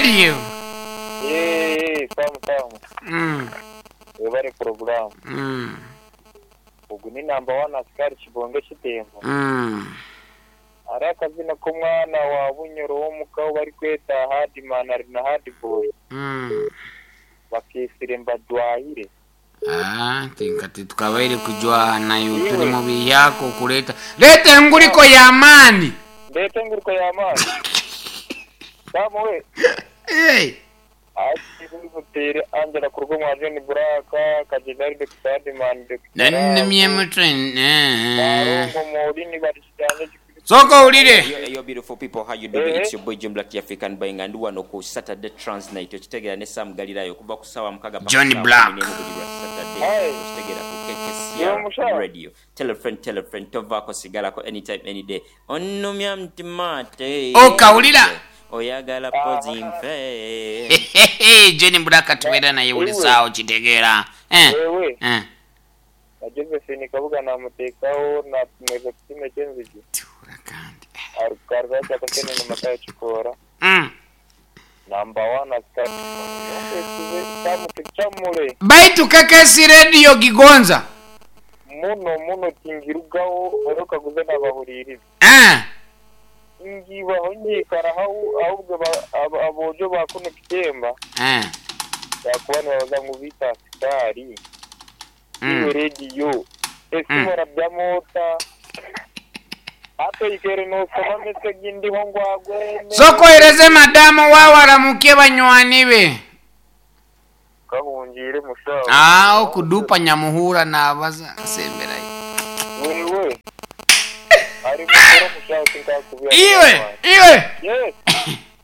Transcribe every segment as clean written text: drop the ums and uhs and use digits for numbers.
Radio. Eeh Sam Sam. Webare puroguraamu. Ogu ni namba wani Askari Kibonge Kitembo. Hariho akazina k'omwana wa Bunyoro w'omuka ou barikweta Hardman ari na Hardboy bakeetsire Mbajwahire. Ah, tinka titukabaire kujwaha nayo turi mu bihyaka okureta reta enguriko y'amaani. Ndeete enguriko y'amaani? Sam we. Hey. Ati buteire Angela kuruga omwa John Black, Kagyenda ari Dokita Hardman, Dokita Nanumye Love, mutwe. Barongo Morini bari Kiganja Kikuru. Sooka owulire. Yo, yo beautiful people, how you doing? Eh. It's your boy Jim Black the African Boy nga ndi wano ku Saturday Trans Night okitegera ne Sam Galilaya okuva ku saawa mukaga paka Johnny saawa Black. kumi n'emu buli lwa Saturday Hey. okitegera ku Yo, KKCR mushaho. Radio. Tell a friend, tell a friend, tovaako sigalako anytime any day. Onnumya mutima ate. Okawulira? Oyagala pozi nfe. Johnny Black tubeera naye buli saawa okitegeera. Eh. Wewe Eh. na Josephine Kabuga namuteekaho natumweza kutuma ekyenzigi Tuura kandi. arukaruza kyakatene namata kikoora Namba wani asikari Samu tukyamure Baitu KKC Radio gigonza. muno muno tingirugaho orokaguze nabahuririza Eh. ngibaho nyikara ahubwo abojo bakuno kitemba Eh. bakuba nibabaza ngu bita asikari iwe rediyo esimora bya mota atoikere nosoma mesegi ndiho ngwagwene Sokohereze madamu wawe aramukie banywani be. kahungire mushaho Ah, okudupa nyamuhura nabaza asemberayo. wewe ari mukuru mushaho tinkakubira Iwe, iwe yes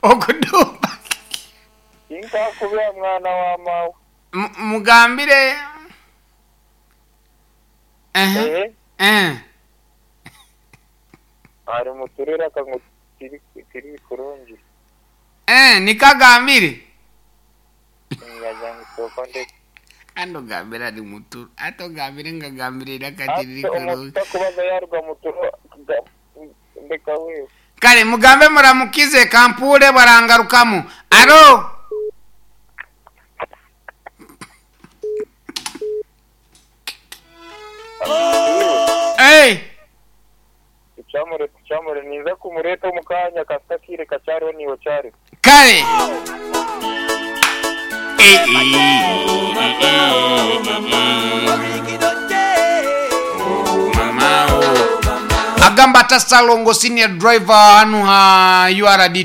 okudupa. tinkakubira mwana wa mawe Mugambire. Eh. ehe Eh. ari muturere akangu tiri tiri kurungi Eh, nikagambire. nyagira ngu soko ndetse Kandi ogambire ari muturu. Ate ogambire ngagambire era kati riri ate kurungi. omuntu akubaza yaruga muturo ndeka wewe Kale mugambe muramukize kampure barangarukamu. Aro. Hey. tucamure tucamure ninza kumureta omu kanya kasita kiire kacyariho niwe cyari Kale. Eh, eh, Agamba ata Salongo senior driver hanu ha URD